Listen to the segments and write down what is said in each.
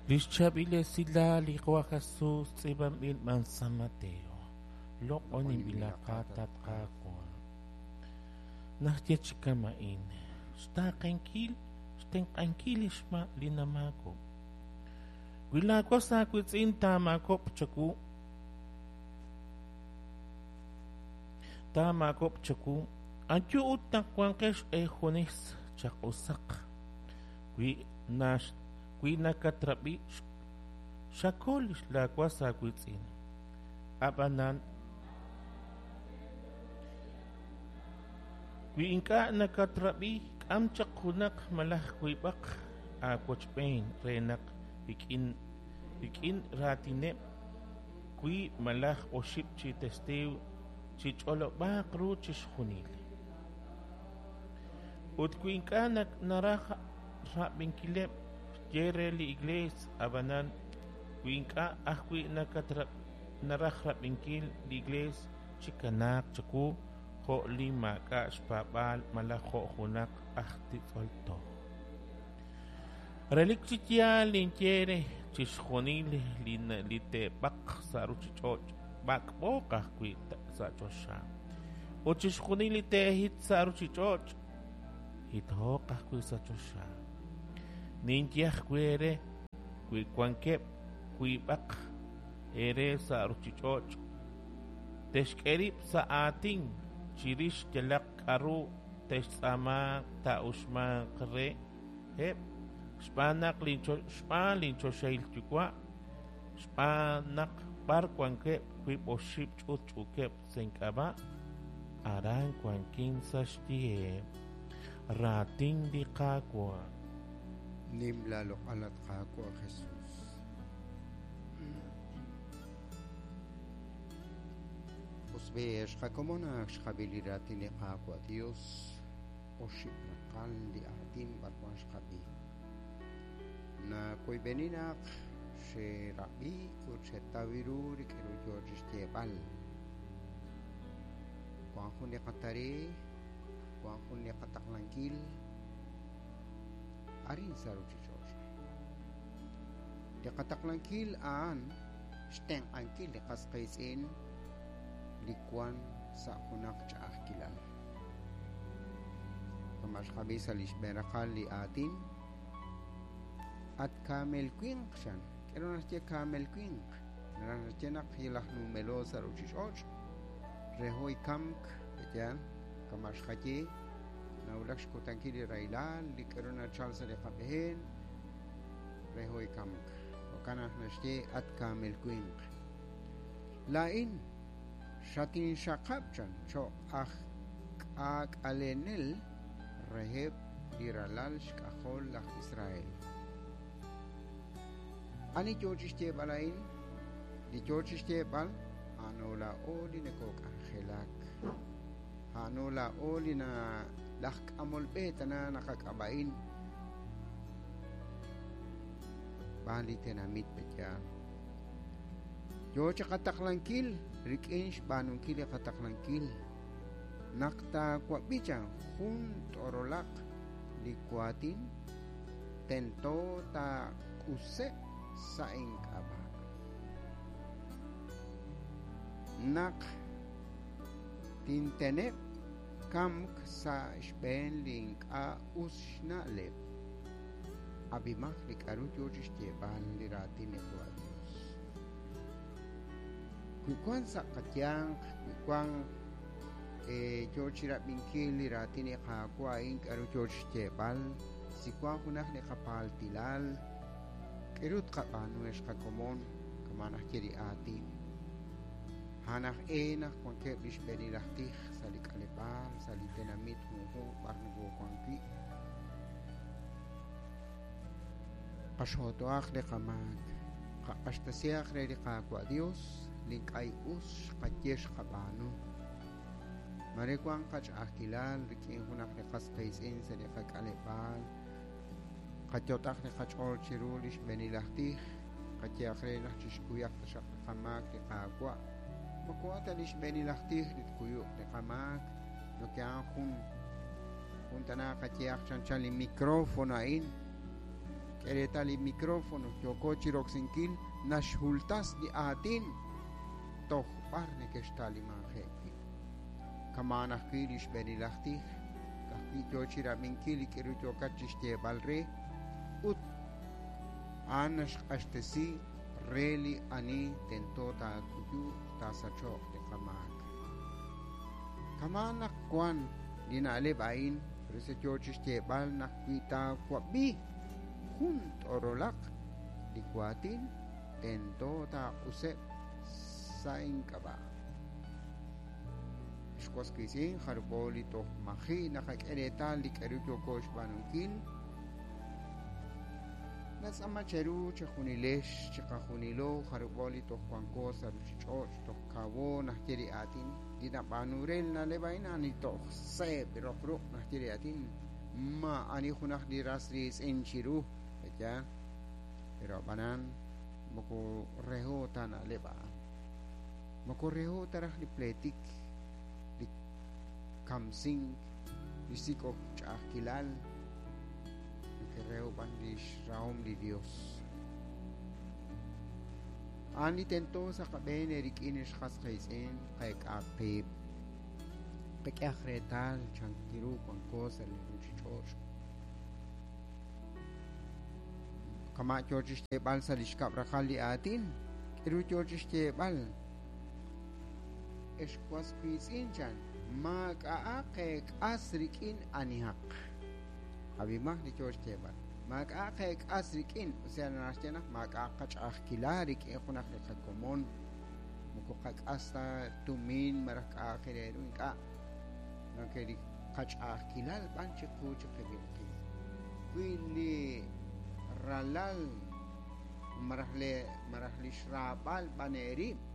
Lix chaab'il esilal li Qaawa' Jesus tz'iib'anb'il b'an San Mateo. Loq'oninb'ilaqat, at Qaawa'. Naxye chi kama'in, xtaaqenkil, xtenq'ankil li xma li namaakob'k. Wi laawas aawiitz'in taamaakob'q chawu, taamaakob'q chawu, ayu ut naq wanqex eejunes chaq'usaq. Wi nax wi nakatrab'i, xakol laawas aawiitz'in. Ab'anan, wi ink'a' nakatrab'i, k'am chaq junaq malaj wiib'aq aawochb'een re naq rik'in rik'in raatineb' wiib' malaj oxib' chi testiiw chich'olob'aaq ru chixjunil. Ut wi ink'a' naraj rab'inkileb', ye re li Iklees, ab'anan wi ink'a' ajwi' naraj rab'inkil li Iklees, chikanaaq chawu jo' li maak'a' xpaab'aal malaj jo' junaq aj titz'ol toj. Relik chi yaal ninye eere, chixjunil li te'b'aq sa' ruuchich'och' b'ak'b'ooq ajwi' sa' choxa, ut chixjunil li te'hit sa' ruuchich'och' hithooq ajwi' sa' choxa. Ninye ajwi' eere, wi wankeb' wiib'aq eere sa' ruuchich'och' te'xk'e rib' sa' aatin chirix yalaq k'aru te'xtz'aama taa'uxmanq reheb' xb'aan naq xb'aan linchoxahil Yuwa', xb'aan naq b'ar wankeb' wiib' oxib' ch'utch'uukeb' sa' ink'ab'a', aran wankin sa' xyiheb'. Raatin li Qaawa'. Nim laaloq'al, at Qaawa' Jesus. Us b'i', xqakomon ak xqab'i li raatin li Qaawa' Dios, oxib' raqal li aatin b'arwan xqab'i. Nakoyb'eni naq xerab'i ut xetaw ru rik'in ru yoo chi xyeeb'al. Wan jun li qatare, wan jun li qataqlankil arin sa' ruuchich'och'. Li qataqlankil a'an xtenq'ankil li qas qiitz'in li wan sa' junaq ch'a'ajkilal. Kama xqab'i sa' li xb'een raqal li aatin, at kaamel winq chan. K'aru naxye kaamel winq? Naraj naxye naq yalaj numelo sa' ruuchich'och' reho ikamk yaal kama xqaye nawulak xkutankil li rahilal li k'aru nachal sa' li qab'een reho ikamk. Jo'kan naq naxye at kaamel winq. Laa'in xatinxaqab' chan cho'q aj k'aak'alenel reheb' li ralal xk'ajol laj Israel. Ani yoo chi xyeeb'al a'in? Li yoo chi xyeeb'al a'ano laa'o li nakok'anjelak. A'ano laa'o li na laj k'amol b'e tana naqak'ab'a'in b'aan li tenamit pe'yaal. Yoo chi qataqlankil rik'in xb'aanunkil li qataqlankil naq taawab'i chan jun t'orolaq li waatin tento taaq'useb' sa' ink'ab'a'. Naq tinteneb' kamk sa' xb'een li ink'a' us xna'leb'. Ab'imaq li k'aru yoo chi xyeeb'al li raatin li Qaawa' Dios. Wi wan sa' qayanq, wi wan yoo chi rab'inkil li raatin li Qaawa' a'in k'aru yoo chi xyeeb'al, si wan junaq li qapaaltilal, k'aru tqab'aanu ex qakomon kama' naxye li aatin. A'an aj e naq wankeb' li xb'eenil aj tij sa' li k'aleb'aal, sa' li tenamit junjunq b'ar nokowank wi'. Qaxootohaq li qamaak, qaq'axtasihaq re li Qaawa' Dios li ink'a' us xqaye xqab'aanu. Mare wan qach'a'ajkilal rik'in junaq li qas qiitz'in sa' li qak'aleb'aal, qayot'aq li qach'ool chiru li xb'eenil aj tij, qayehaq re naq chixkuyaq taxaq li qamaak li Qaawa'. Moko a'an ta li xb'eenil aj tij li tkuyuq li qamaak, noke a'an jun jun tana qayehaq chanchan li micrófono a'in. K'e reetal li micrófono yooko chiroksinkil naxhultas li aatin toj b'ar nekexta'limanje'k wi'. Kama'an ajwi' li xb'eenil aj tij, ka'ajwi' yoo chirab'inkil li k'aru yookat chixyeeb'al re, ut a'an naxq'axtesi re li ani tento taakuyuq taasacho'q li qamaak. Kama'an naq wan li na'leb' a'in, por eso yoo chixyeeb'al naq wi taawab'i jun t'orolaq li waatin, tento taaq'useb' sa' ink'ab'a'. Ex was wiitz'in, jarub'o li toj maji' naqak'e reetal li k'aru yooko xb'aanunkil, natz'aama cheru chejunilex chiqajunilo jarub'o li toj wanko sa' ruuchich'och' toj kawo naxye li aatin li nab'aanu re li na'leb' a'in a'an li toj seeb' roq ruq' naxye li aatin ma ani junaq li ras riitz'in chiru pe'yaal pero ab'anan moko reho ta na'leb' a'an moko reho ta raj li pleetik li kamsink li sik'ok ch'a'ajkilal reho b'an li xrahom li Dios. A'an li tento sa' qab'een eerik'in ex qas qiitz'in qeek'aq qiib'. Qak'ehaq reetal chankiru wanko sa' li ruuchich'och'. Kama' yoo chixyeeb'al sa' li xkab' raqal li aatin, k'aru yoo chixyeeb'al? Ex was wiitz'in chan, maak'a'aq eek'as rik'in anihaq. Ab'imaq li yoo xyeeb'al. Maak'a'aq eek'as rik'in, o sea naxye naq maak'a'aq qach'a'ajkilal rik'in junaq li qakomon. Moko qak'as ta tumin malaj k'a'aq re ru ink'a'. Noke li qach'a'ajkilal b'an chiqu chiqib'il qib'. Wi li ralal malaj le malaj li xraab'al b'an eerib',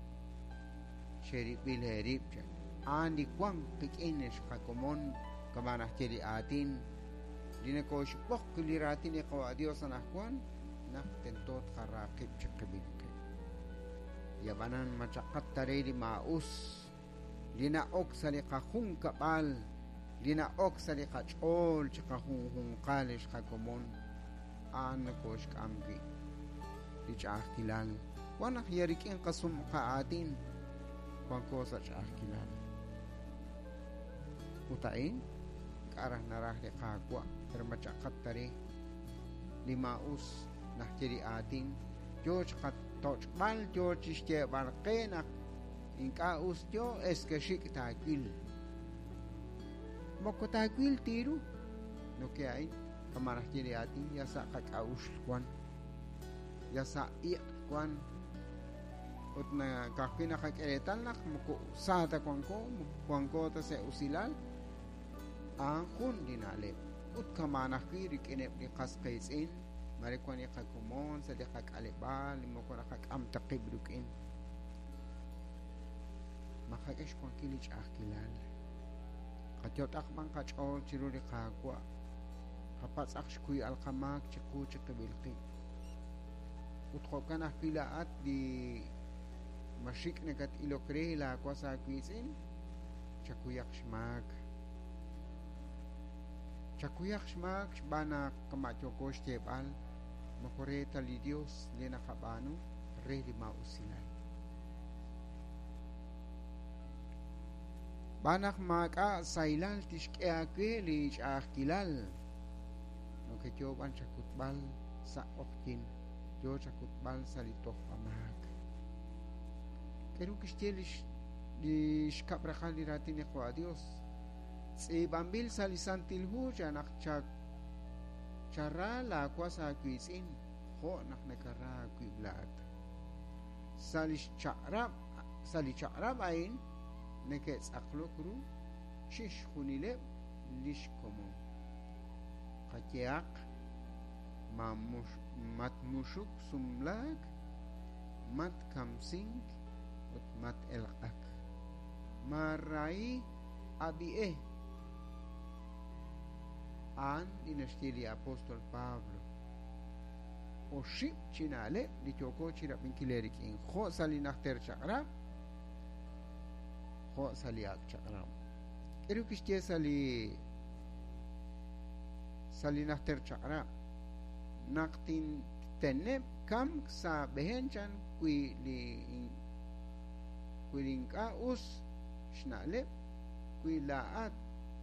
cherib'il eerib' chan. A'an li wan qik'in ex qakomon kama' naxye li aatin li nakoxb'oq li raatin li Qawa' Dios anaqwan naq tento tqara qib' chiqib'il qib'. Y ab'anan machaqat ta re li maa'us li na'ok sa' li qajunkab'al li na'ok sa' li qach'ool chiqajunjunqal ex qakomon a'an nakoxk'am wi' li ch'a'ajkilal. Wan naq ya rik'in qasum qa'aatin wanko sa' ch'a'ajkilal. Ut a'in k'a' raj naraj li Qaawa' pero machaqat ta re li maa'us naxye li aatin yoo chiqatoch'b'al yoo chixyeeb'al qe naq ink'a' us yoo es que xik' taawil. Moko taawil tiru noke a'in kama' naxye li aatin ya sa' qak'a'uxl wan ya sa' iq' wan ut ka'ajwi' naqak'e reetal naq moko sa ta wanko moko wanko ta sa' usilal a'an jun li na'leb' ut kama'an ajwi' rik'ineb' li qas qiitz'in mare wan li qakomon sa' li qak'aleb'aal li moko naqak'am ta qib' rik'in. Maqak'e xwankil li ch'a'ajkilal. Qayot'aq b'an qach'ool chiru li Qaawa'. Qapatz'aq xkuyb'al qamaak chiqu chiqib'il qib'. Ut jo'kan ajwi' laa'at li maxik' nakat'ilok re laawas aawiitz'in, chakuyaq xmaak. Chakuyaq xmaak xb'aan naq kama' yooko xyeeb'al moko re ta li Dios li naqab'aanu re li maa'usilal. B'aan naq maak'a' sahilal tixk'e aawe li ch'a'ajkilal. Noke yoo b'an chakutb'al sa' q'oqyin, yoo chakutb'al sa' li tojb'amaak. K'aru kixye li xkab' raqal li raatin li Qawa' Dios? Tz'iib'anb'il sa' li Santil Hu chan naq chara laawas aawiitz'in jo' naq nakara aawib' laa'at. Sa' li chaq'rab' sa' li chaq'rab' a'in neke'tz'aqlok ru chixjunileb' li xkomon. Qayehaq matmuxuk sumlaak, matkamsink ut mat-elq'ak. Maarahi ab'i'e. A'an li naxye li apóstol Pablo. Oxib' chi na'leb' li yooko chirab'inkil eerik'in jo' sa' li najter chaq'rab' jo' sa' li ak' chaq'rab'. K'aru kixye sa' li najter chaq'rab'? Naq tinteneb' kamk sa' aab'een chan wi li wi li ink'a' us xna'leb', wi laa'at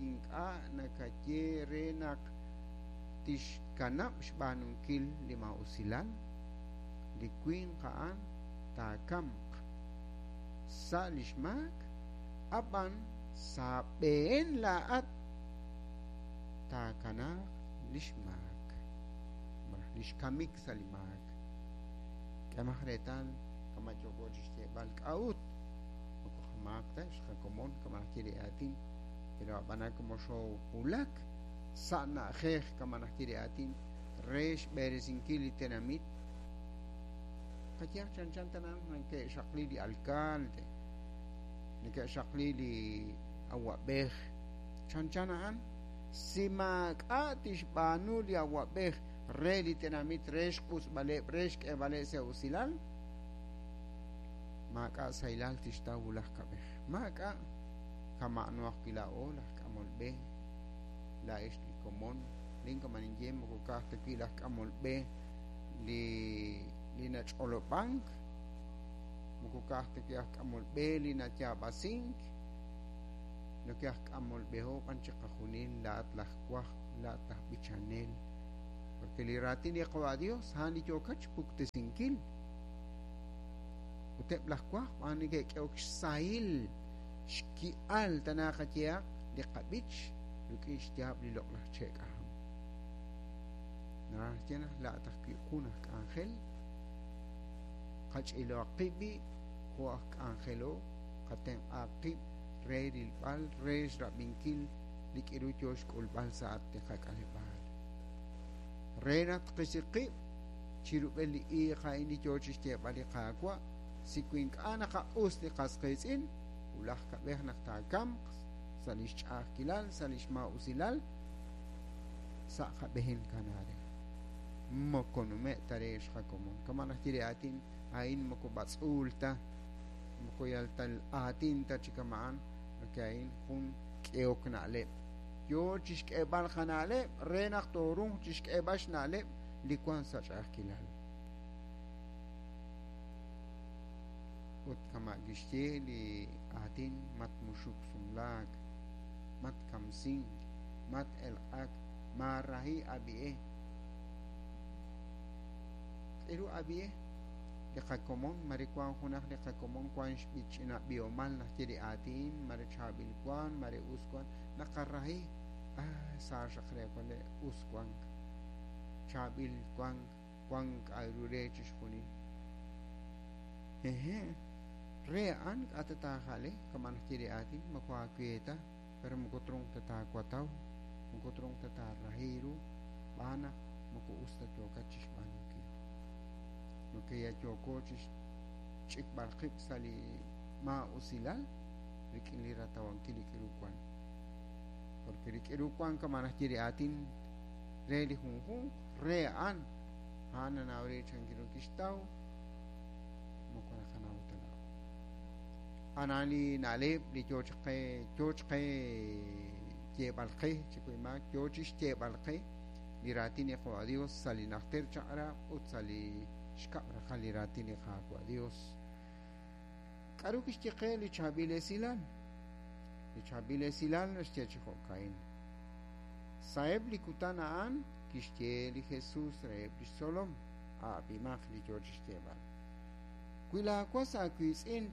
ink'a' nakaye re naq tixkanab' xb'aanunkil li maa'usilal, li winq a'an taakamq sa' li xmaak, ab'an sa' aab'een laa'at taakanaaq li xmaak, malaj li xkamik sa' li maak. K'ehomaq reetal kama' yooko chi xyeeb'al k'a'ut moko qamaak ta xqakomon kama' naxye li aatin, pero ab'anan como xoowulak sa' na'ajej kama' naxye li aatin re xb'eresinkil li tenamit, qayehaq chanchan tana neke'xaqli li alcalde, neke'xaqli li awa'b'ej, chanchan a'an si maak'a' tixb'aanu li awa'b'ej re li tenamit re xq'usb'aleb' re xk'eeb'aleb' sa' usilal, maak'a' sahilal tixtaw wulaj kab'ej. Maak'a' kama'ano ajwi' laa'o laj k'amol b'e, laa'ex li komon, lin kama' ninye moko ka'aj ta wi' laj k'amol b'e li li nach'olob'ank, moko ka'aj ta wi' aj k'amol b'e li nayaab'asink, noke aj k'amol b'eho b'an chiqajunil, laa'at laj wajb', laa'at laj b'ichanel, porque li raatin li Qawa' Dios a'an li yookat xpuktesinkil. Ut eb' laj wajb' a'an neke'k'ehok xsahil xki'al tana qayehaq li qab'ich rik'in xyaab' li loq'laj che' k'aham. Naraj naxye naq laa'at ajwi' jun aj k'anjel, qach'iloaq qib' b'i' jo' aj k'anjelo, qatenq'aaq qib' re rilb'al, re xrab'inkil li k'iru yoo xk'ulb'al sa' at li qak'aleb'aal. Re naq tqisi qib' chirub'el li iiq a'in li yoo chixyeeb'al li Qaawa', si wi ink'a' naqaq'us li qas qiitz'in, wulaj kab'ej naq taakamq sa' lix ch'a'ajkilal, sa' lix maa'usilal, sa' qab'een kanaak re. Moko nume' ta re xqakomon. Kama' naxye li aatin a'in moko b'atz'uul ta, moko yal ta aatin ta chi kama'an, porque a'in jun k'ehok na'leb'. Yoo chixk'eeb'al qana'leb' re naq tooruuq chixk'eeb'al xna'leb' li wank sa' ch'a'ajkilal. Ut kama' kixye li aatin matmuxuk sumlaak, matkamsink, mat-elq'ak, maarahi ab'i'e. K'eru ab'i'e? Li qakomon, mare wank junaq li qakomon wank xch'ina b'ihomal naxye li aatin, mare chaab'il wank, mare us wank, naqarahi, ah, sa xaq re wale' us wank, chaab'il wank, wank k'a'ru re chixjunil. Hehe', re a'an k'a' ta taaja'le, kama' naxye li aatin, moko aawe ta, pero moko truuq ta taawataw, moko truuq ta taarahi ru, xb'aan naq moko us ta yookat chixb'aanunkil. Noke ya yooko chixch'ikb'al qib' sa' li maa'usilal rik'in li ratawankil li k'iru wan. Porque li k'iru wan kama' naxye li aatin re li junjunq, re a'an, a'an nanaw re chan ru kixtaw, moko naqanaw ta laa'o. A'an li na'leb' li yoo chaq qe, yoo chaq qe yeeb'al qe, chikuimaak, yoo chixyeeb'al qe li raatin li Qawa' Dios sa' li najter chaq'rab' ut sa' li xkab' raqal li raatin li Qaawa' Dios. K'a'ru kixye qe li chaab'il esilal? Li chaab'il esilal naxye chi jo'ka'in. Sa'eb' li kutan a'an kixye li Jesus reheb' lix tzolom, a'ab'imaq li yoo chixyeeb'al. Wi laa was aawiitz'in